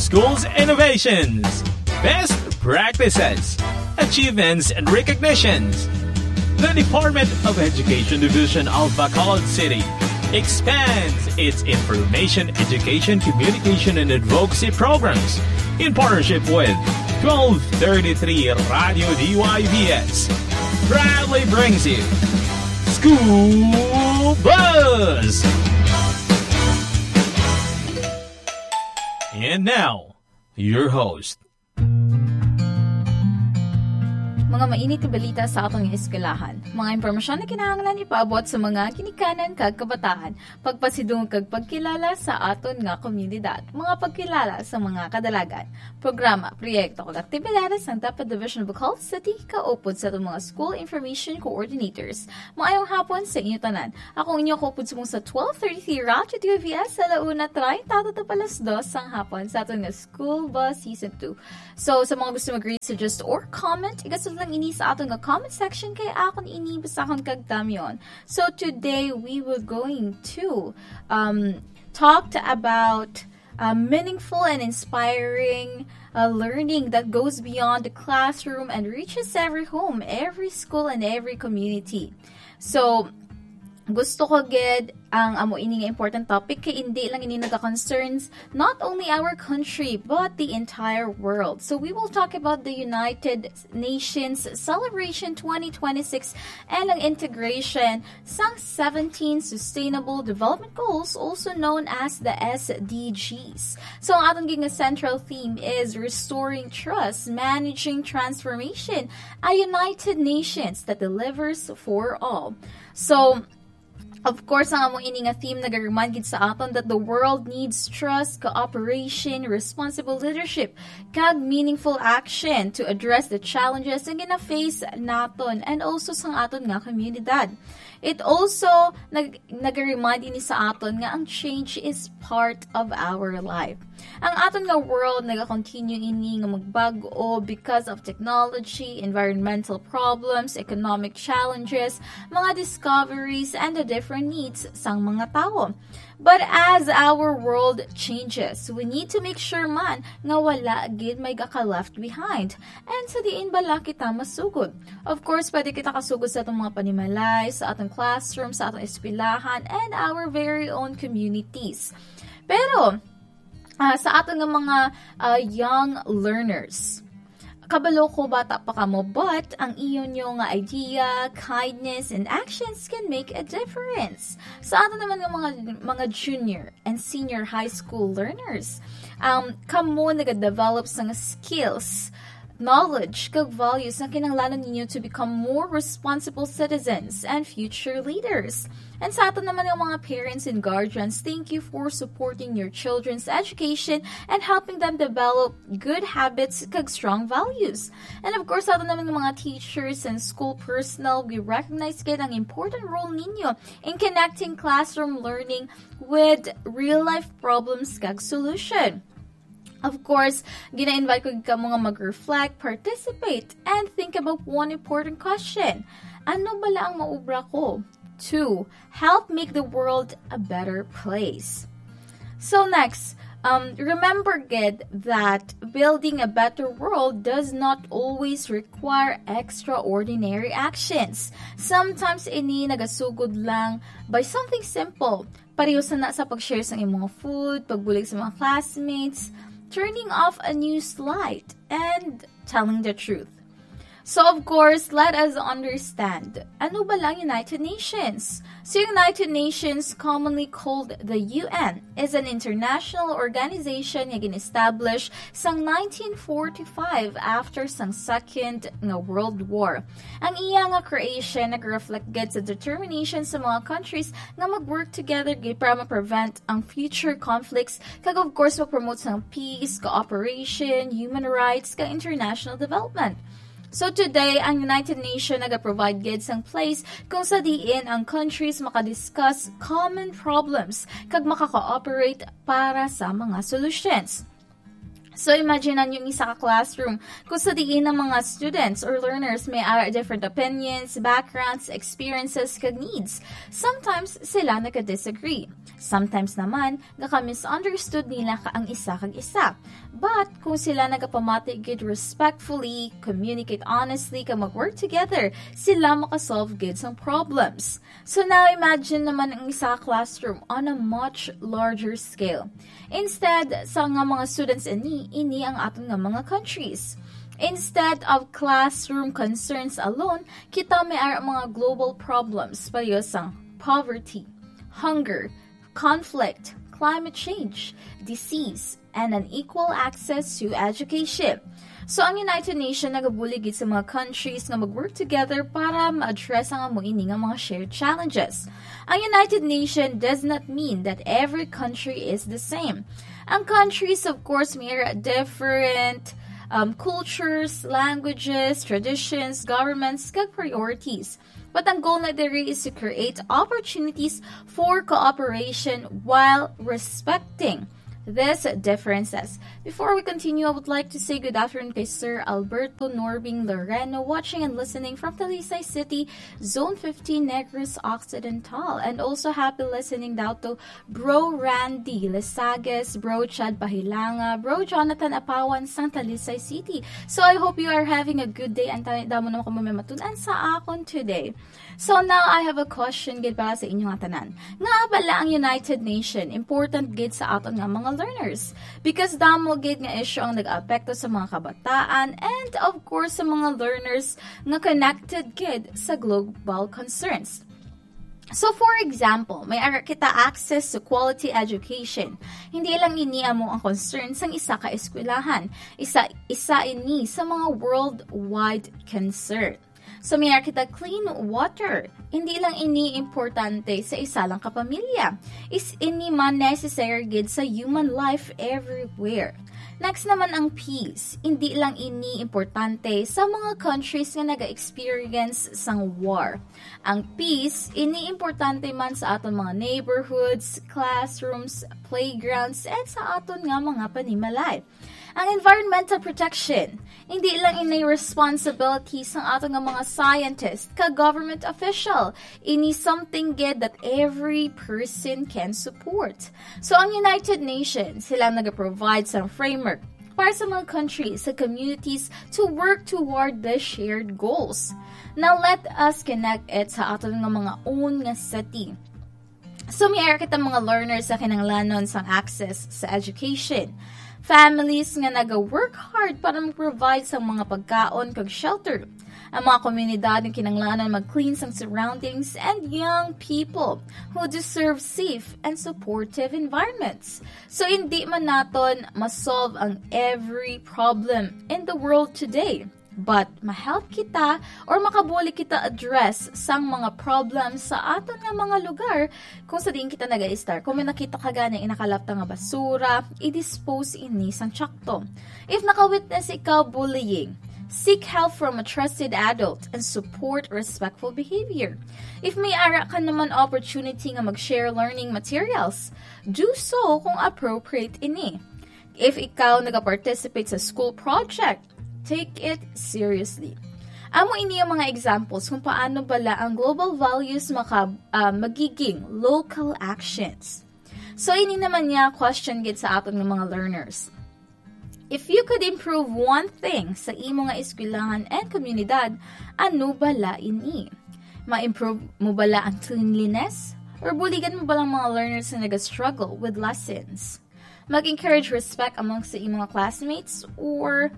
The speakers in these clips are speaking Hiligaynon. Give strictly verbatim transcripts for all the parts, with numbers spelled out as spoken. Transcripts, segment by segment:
Schools innovations, best practices, achievements and recognitions. The Department of Education Division of Bacolod City expands its information, education, communication, and advocacy programs in partnership with twelve thirty-three Radio D Y V S. Proudly brings you School Buzz! And now, your host. Mga mainit nga balita sa aton nga eskwelahan. Mga impormasyon na kinahanglan ipaabot sa mga ginikanan kag kabataan. Pagpasidungog kag pagkilala sa aton nga komunidad. Mga pagkilala sa mga kadalagan. Programa, proyekto kag aktibidades sang DepEd Division Bacolod City kaupod sa aton mga school information coordinators. Maayong hapon sa inyo tanan. Ako ang inyo kaupod subong sa twelve thirty-three Radyo D Y V S sa alauna treinta tattap alas dos sang hapon sa aton nga School Buzz Season two. So, sa mga gusto mag-read, suggest or comment, igasod lang ini sa aton nga comment section kay akon ini basahon kag tamyon. So, today we will going to um, talk about uh, meaningful and inspiring uh, learning that goes beyond the classroom and reaches every home, every school, and every community. So, gusto ko gid ang amo ini nga important topic kay hindi lang ini naga-concerns not only our country but the entire world. So we will talk about the United Nations Celebration twenty twenty-six and ang integration sang seventeen Sustainable Development Goals, also known as the S D Gs. So ang aton gid nga central theme is restoring trust, managing transformation, a united nations that delivers for all. So, of course, ang amo ini nga theme nag-remind gid sa aton that the world needs trust, cooperation, responsible leadership, kag meaningful action to address the challenges nga gina-face naton and also sang aton nga komunidad. It also nag nag-remind ini sa aton nga ang change is part of our life. Ang aton nga world nagakontinue ini nga magbag-o because of technology, environmental problems, economic challenges, mga discoveries, and the different needs sang mga tawo. But as our world changes, we need to make sure man nga wala gid may gaka-left behind. And sa diin bala kita masugod? Of course, pwede kita kasugod sa atong mga panimalay, sa atong classroom, sa atong eskwelahan, and our very own communities. Pero, ah, sa aton nga mga, ah, young learners, kabalo ko bata pa kamo, but ang iyo nyo nga idea, kindness, and actions can make a difference. Sa aton naman nga mga, mga junior and senior high school learners, um, kamo nagadevelop sang skills, knowledge, kag values nga kinahanglanon ninyo to become more responsible citizens and future leaders. And sa aton naman nga mga parents and guardians, thank you for supporting your children's education and helping them develop good habits kag strong values. And of course, sa aton naman nga mga teachers and school personnel, we recognize gid ang important role ninyo in connecting classroom learning with real-life problems kag solution. Of course, gina-invite ko kamo nga mag-reflect, participate, and think about one important question. Ano bala ang maubra ko to help make the world a better place? So next, um, remember gid that building a better world does not always require extraordinary actions. Sometimes ini nagasugod lang by something simple. Pareho sa na sa pag-share sa imong food, pagbulig sa mga classmates, turning off a news light, and telling the truth. So of course, let us understand, ano ba lang United Nations? So United Nations, commonly called the U N, is an international organization nga gin-establish sang nineteen forty-five after sang Second nga World War. Ang iya nga creation nag-reflect gid sa determination sa mga countries nga mag-work together gid para ma-prevent ang future conflicts, kag of course, mag-promote sang peace, cooperation, human rights, kag international development. So today, ang United Nations naga-provide gid sang place kung sa diin ang countries makadiscuss common problems kag maka-cooperate para sa mga solutions. So, imagine ninyo ang isa ka classroom kung sa diin ang mga students or learners may ara different opinions, backgrounds, experiences, kag needs. Sometimes, sila nagka-disagree. Sometimes naman, nagka-misunderstood nila ka ang isa kag isa. But, kung sila nagapamati gid respectfully, communicate honestly, kag mag-work together, sila makasolve gid sang problems. So now imagine naman ang isa ka classroom on a much larger scale. Instead sa nga mga students ini, ini ang aton nga mga countries. Instead of classroom concerns alone, kita may ara mga global problems pareho sang poverty, hunger, conflict, climate change, disease, and unequal access to education. So, ang United Nations nagabulig gid sa mga countries nga mag-work together para ma-address ang amo ini nga mga shared challenges. Ang United Nations does not mean that every country is the same. Ang countries, of course, may different um, cultures, languages, traditions, governments, kag priorities. But ang goal na diri is to create opportunities for cooperation while respecting these differences. Before we continue, I would like to say good afternoon kay Sir Alberto Norbing Loreno, watching and listening from Talisay City, Zone fifteen, Negros Occidental. And also happy listening daw to Bro Randy Lesages, Bro Chad Pahilanga, Bro Jonathan Apawan sang Talisay City. So I hope you are having a good day. Ang tani damo naman kamo may matun-an sa akon today. So now I have a question gid para sa inyo nga tanan. Nga bala ang United Nation important gid sa aton nga mga learners? Because damo gid nga issue ang nag-apekto sa mga kabataan and of course sa mga learners nga connected gid sa global concerns. So, for example, may ara kita access to quality education. Hindi lang ini amo ang concern sang isa ka eskwelahan. Isa, isa ini sa mga worldwide concern. So, may ara kita clean water. Hindi lang ini importante sa isa lang ka pamilya. Is ini man necessary gid sa human life everywhere. Next naman ang peace. Hindi lang ini importante sa mga countries nga naga-experience sang war. Ang peace, ini importante man sa aton mga neighborhoods, classrooms, playgrounds, and sa aton nga mga panimalay. Ang environmental protection, hindi lang ini responsibility sang aton nga mga scientist ka government official. Ini something gid that every person can support. So, ang United Nations, sila nag-provide sa framework para sa mga countries, sa communities to work toward the shared goals. Now, let us connect it sa aton nga mga own nga city. So, may ara kita mga learners sa kinahanglanon sang access sa education. Families nga naga-work hard para mag-provide sa mga pagkaon kag shelter. Ang mga komunidad nga kinahanglanon mag-clean sang surroundings and young people who deserve safe and supportive environments. So, hindi man naton ma-solve ang every problem in the world today. But ma-help kita or makabulig kita address sang mga problems sa aton nga mga lugar kung sa diin kita naga-estar. Kung may nakita ka gani nga nakalapta nga basura, i-dispose ini sang tsakto. If naka-witness ikaw bullying, seek help from a trusted adult and support respectful behavior. If may ara ka naman opportunity nga mag-share learning materials, do so kung appropriate ini. If ikaw nagaparticipate sa school project, take it seriously. Amo ini ang mga examples kung paano bala ang global values maka, ah, magiging local actions. So, ini naman niya question gid sa aton nga mga learners. If you could improve one thing sa imo nga eskwelahan and komunidad, ano bala ini? Ma-improve mo bala ang cleanliness? Or buligan mo bala ang mga learners na naga-struggle with lessons? Mag-encourage respect amongst sa imong classmates or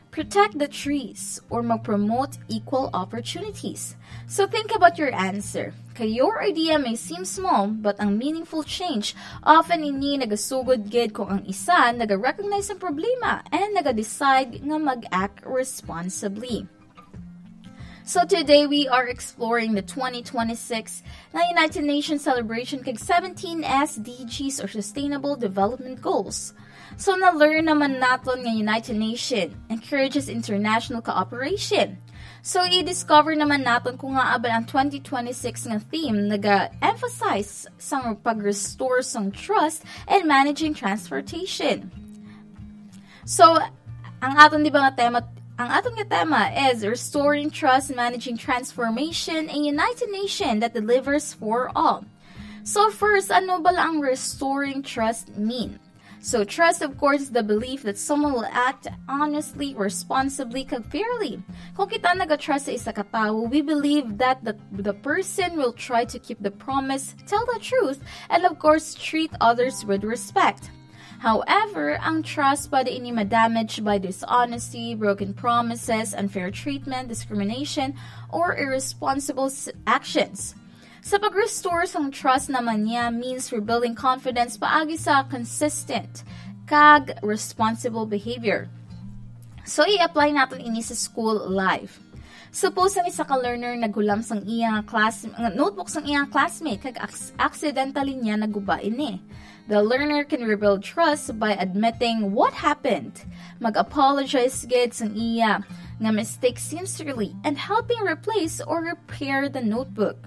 protect the trees or mag-promote equal opportunities? So think about your answer. Kay your idea may seem small, but ang meaningful change, often ini nagasugod gid kung ang isa naga-recognize ang problema and naga-decide nga mag-act responsibly. So today we are exploring the twenty twenty-six nga United Nations celebration kag seventeen S D Gs or Sustainable Development Goals. So na-learn naman naton nga United Nations encourages international cooperation. So i-discover naman naton kung ngaa bala ang twenty twenty-six nga theme naga-emphasize sang pag-restore sang trust and managing transportation. So, ang aton, di ba, nga tema, ang aton nga tema is restoring trust, managing transformation, a united nation that delivers for all. So first, ano bala ang restoring trust mean? So trust, of course, is the belief that someone will act honestly, responsibly, kag fairly. Kung kita nag-trust sa isa ka tawo, we believe that the, the person will try to keep the promise, tell the truth, and of course, treat others with respect. However, ang trust pwede ini ma-damage by dishonesty, broken promises, unfair treatment, discrimination, or irresponsible s- actions. Sa pag-restore sang trust naman niya means rebuilding confidence paagi sa consistent kag responsible behavior. So, i-apply naton ini sa school life. Suppose ang isa ka learner naghulam sang iya nga class, nga notebook sang iya nga classmate kag aks-, accidentally niya naguba ini. The learner can rebuild trust by admitting what happened, mag-apologize gid sang iya nga mistake sincerely, and helping replace or repair the notebook.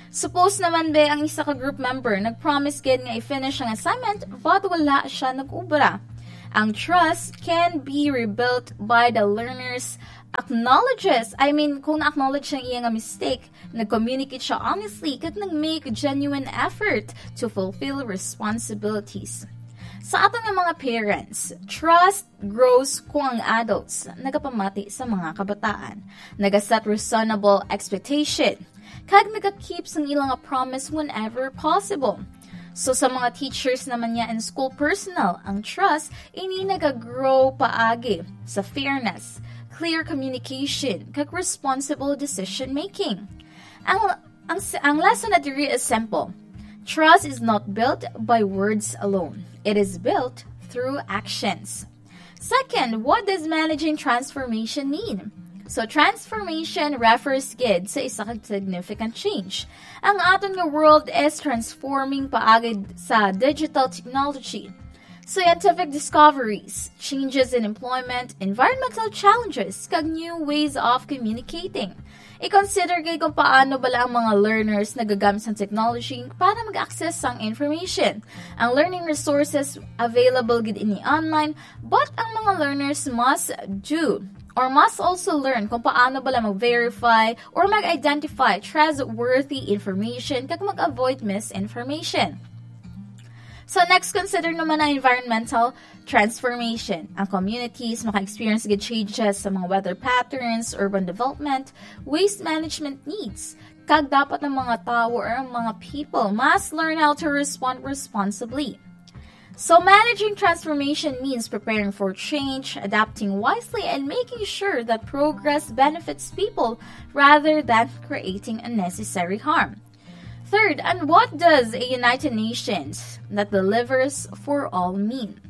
Suppose naman, be, ang isa ka group member nag-promise gid nga i-finish ang assignment, but wala siya nag-ubra. Ang trust can be rebuilt by the learner's acknowledges, I mean, kung na-acknowledge ang iya nga mistake, nag-communicate siya honestly, kag nag-make genuine effort to fulfill responsibilities. Sa aton nga mga parents, trust grows kung ang adults nagapamati sa mga kabataan, nagaset reasonable expectation, kag nagakeep sang ilang promise whenever possible. So, sa mga teachers naman niya and school personnel, ang trust ini nagagrow paagi sa fairness, clear communication, kag responsible decision making. Ang, ang, ang lesson na diri is simple. Trust is not built by words alone. It is built through actions. Second, what does managing transformation mean? So, transformation refers gid sa isa ka significant change. Ang aton nga world is transforming paagi sa digital technology, scientific discoveries, changes in employment, environmental challenges, kag new ways of communicating. I-consider gid kung paano bala ang mga learners nagagamit sang technology para mag-access sang information. Ang learning resources available gid ini online, but ang mga learners must do or must also learn kung paano bala mag-verify or mag-identify trustworthy information kag mag-avoid misinformation. So next, consider naman ang environmental transformation. Ang communities maka-experience gid changes sa mga weather patterns, urban development, waste management needs, kag dapat ang mga tawo or ang mga people must learn how to respond responsibly. So, managing transformation means preparing for change, adapting wisely, and making sure that progress benefits people rather than creating unnecessary harm. Third, and what does a united nations that delivers for all mean?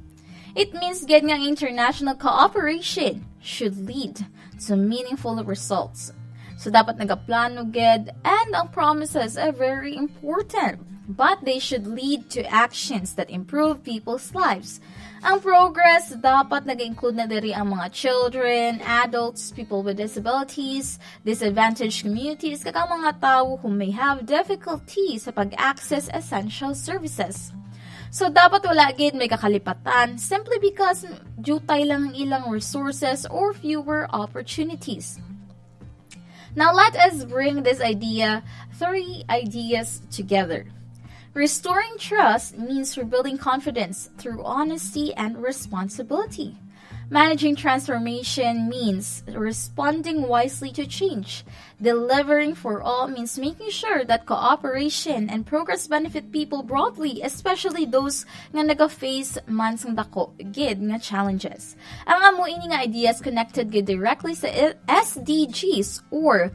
It means gid nga international cooperation should lead to meaningful results. So, dapat nagaplano gid, and ang promises are very important, but they should lead to actions that improve people's lives. Ang progress dapat nag-include na diri ang mga children, adults, people with disabilities, disadvantaged communities, kag ang mga tawo who may have difficulty sa pag-access essential services. So, dapat wala gid may kakalipatan simply because diutay lang ang ilang resources or fewer opportunities. Now, let us bring this idea, three ideas together. Restoring trust means rebuilding confidence through honesty and responsibility. Managing transformation means responding wisely to change. Delivering for all means making sure that cooperation and progress benefit people broadly, especially those nga naga-face man sang dako gid nga challenges. Ang amo ini nga ideas connected gid directly sa S D Gs or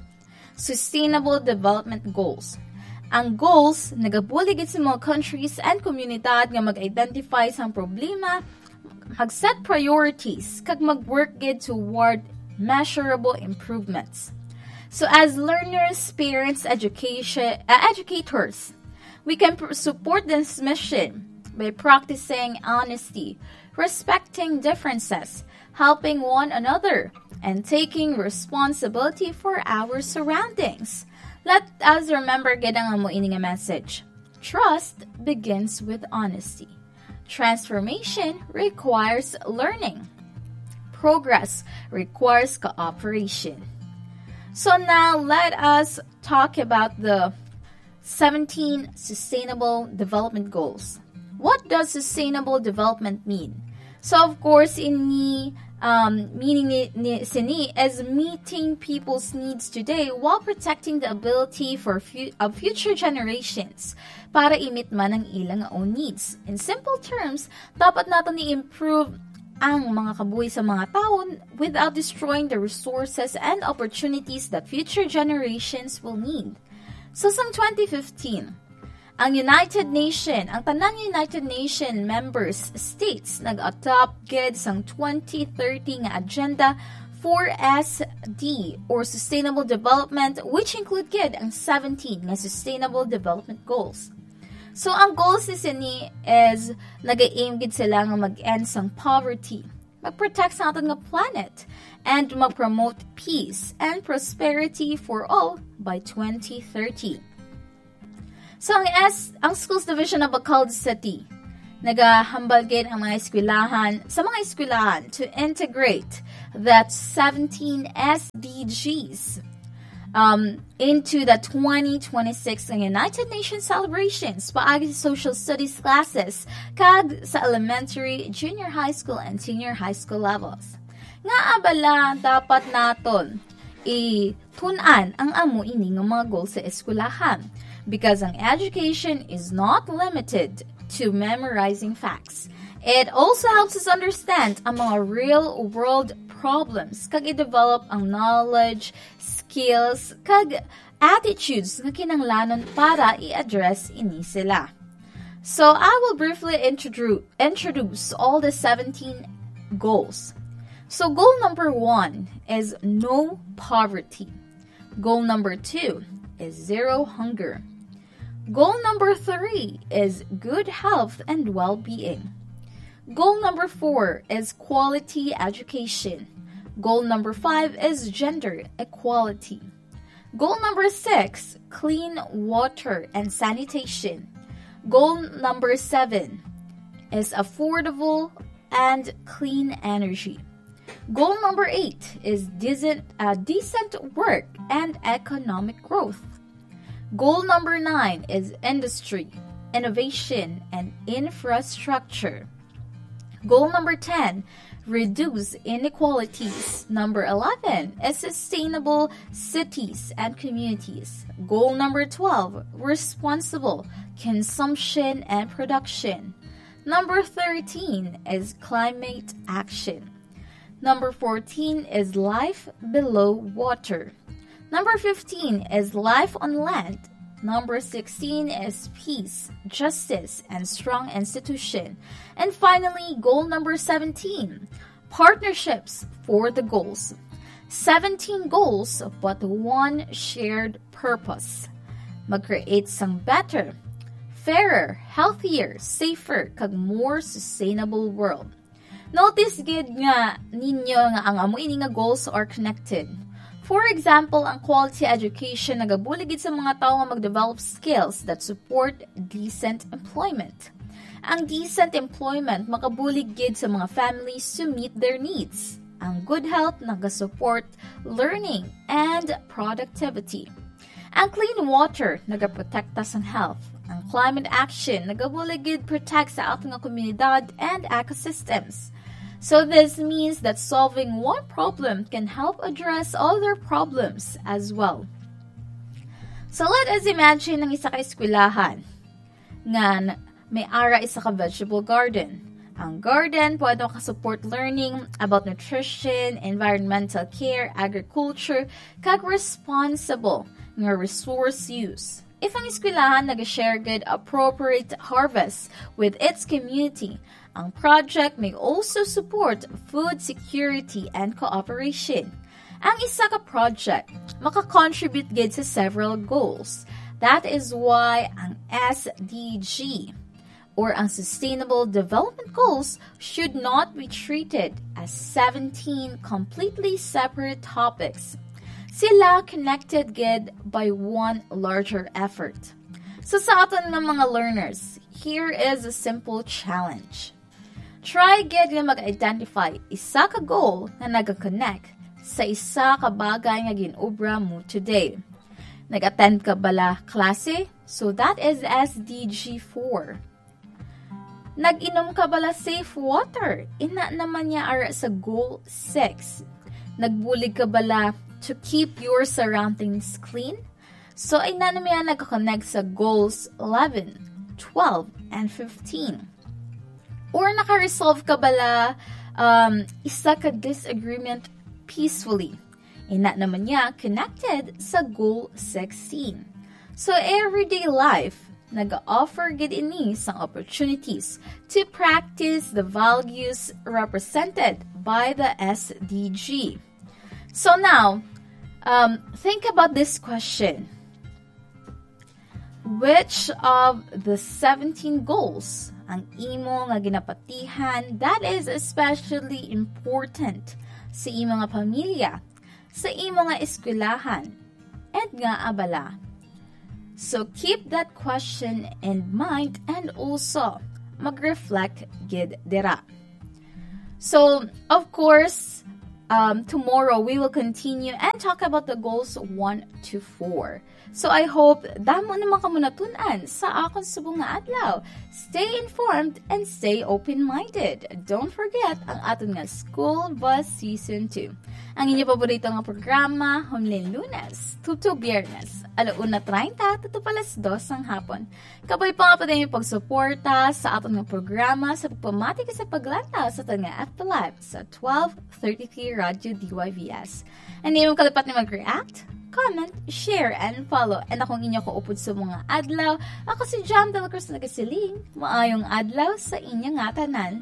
Sustainable Development Goals. Ang goals nagabulig gid sa mga countries and komunidad nga mag-identify sang problema, mag-set priorities, kag mag-work gid toward measurable improvements. So as learners, parents, education, uh, educators, we can pr- support this mission by practicing honesty, respecting differences, helping one another, and taking responsibility for our surroundings. Let us remember gid ang amo ini nga message. Trust begins with honesty. Transformation requires learning. progress requires cooperation. So now let us talk about the seventeen Sustainable Development Goals. What does sustainable development mean? So of course, ini, um, meaning ni, ni sini is meeting people's needs today while protecting the ability for fu- of future generations para i-meet man ang ilang own needs. In simple terms, dapat nato ni-improve ang mga kabuhi sa mga tawo without destroying the resources and opportunities that future generations will need. So sang twenty fifteen, ang United Nation, ang tanan United Nation members states nag-adopt gid sang twenty thirty nga agenda for S D or sustainable development, which include gid ang seventeen nga sustainable development goals. So ang goals ni sini is nag-aim gid sila nga mag-end sang poverty, mag-protect sa aton nga planet, and mag-promote peace and prosperity for all by twenty thirty. So ang S ang Schools Division of Bacolod City nagahambal gid ang mga eskwelahan sa mga eskwelahan to integrate that seventeen S D Gs um, into the twenty twenty-six United Nations celebrations paagi sa social studies classes kag sa elementary, junior high school, and senior high school levels. Nga abala dapat naton i tun-an ang amo ini nga mga goal sa eskwelahan, because ang education is not limited to memorizing facts. It also helps us understand ang mga real-world problems kag i-develop ang knowledge, skills, kag attitudes nga kinahanglanon para i-address ini sila. So, I will briefly introdu- introduce all the seventeen goals. So, goal number one is no poverty. Goal number two is zero hunger. Goal number three is good health and well-being. Goal number four is quality education. Goal number five is gender equality. Goal number six, clean water and sanitation. Goal number seven is affordable and clean energy. Goal number eight is decent, uh, decent work and economic growth. Goal number nine is industry, innovation, and infrastructure. Goal number ten, reduce inequalities. Number eleven is sustainable cities and communities. Goal number twelve, responsible consumption and production. Number thirteen is climate action. Number fourteen is life below water. Number fifteen is life on land. Number sixteen is peace, justice, and strong institution. And finally, goal number seventeen, partnerships for the goals. Seventeen goals, but one shared purpose. Mag-create sang better, fairer, healthier, safer, kag more sustainable world. Notice gid nga ninyo nga ang amo ini nga goals are connected. For example, ang quality education nagabulig gid sa mga tawo nga mag-develop skills that support decent employment. Ang decent employment makabulig gid sa mga families to meet their needs. Ang good health nagasupport learning and productivity. Ang clean water nagaprotekta sang health. Ang climate action nagabulig gid protect sa aton nga komunidad and ecosystems. So this means that solving one problem can help address other problems as well. So let us imagine ang isa ka eskwelahan nga n- may ara isa ka vegetable garden. Ang garden pwede makasupport learning about nutrition, environmental care, agriculture, kag responsible nga resource use. If ang eskwelahan nag-share gid appropriate harvest with its community, ang project may also support food security and cooperation. Ang isa ka project maka-contribute gid sa several goals. That is why ang S D G or ang Sustainable Development Goals should not be treated as seventeen completely separate topics. Sila connected gid by one larger effort. So sa aton nga mga learners, here is a simple challenge. Try gid nga mag-identify isa ka goal nga nag-connect sa isa ka bagay nga gin-obra mo today. Nag-attend ka bala klase? So that is S D G four. Nag-inom ka bala safe water? Ina naman niya ara sa goal six. Nagbulig ka bala to keep your surroundings clean? So, ina naman niya nag-connect sa goals eleven, twelve, and fifteen. Or naka-resolve ka bala um, isa ka disagreement peacefully? Ina naman niya connected sa goal sixteen. So, everyday life, nag-offer gid ini sang opportunities to practice the values represented by the S D G. So now, um, think about this question. Which of the seventeen goals ang imo nga ginapatihan that is especially important sa imo nga pamilya, sa imo nga eskwelahan, and nga abala? So keep that question in mind and also mag-reflect gid dira. So, of course, um, tomorrow we will continue and talk about the goals one to four. So, I hope damo naman kamo natun-an sa akon subong nga adlaw. Stay informed and stay open-minded. Don't forget ang aton nga School Bus Season two. Ang inyo paborito nga programa, humling Lunes, tuto Biyernes, alauna treinta, tuto pa alas dos sang hapon. Kabay pa nga pwede niyo pagsuporta sa aton nga programa sa pagpamati kag sa paglantaw sa aton nga F B Live sa twelve thirty-three Radyo D Y V S. Hindi mo kalipat ni mag-react, comment, share, and follow. And akong inyo kaupod sa mga adlaw, ako si Jam Dela Cruz nagasiling, maayong adlaw sa inyo nga tanan.